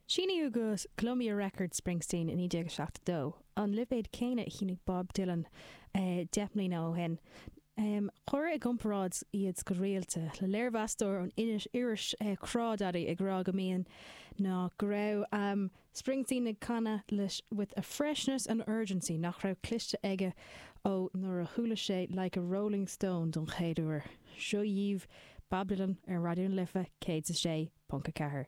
Síníodh go Columbia Records Springsteen i 1972, an lipéad céanna a shínigh Bob Dylan 10 mbliana ó shin. Cuireadh i gcomparáid iad go rialta, le léirmheastóir ón iris Crawdaddy ag rá go mbíonn, nó go raibh, Springsteen ag canadh leis with a freshness and urgency nach raibh cloiste aige ó nuair a chuala sé Like a Rolling Stone don chéad uair. Seo dhaoibh Bob Dylan ar Raidió na Life 106.4.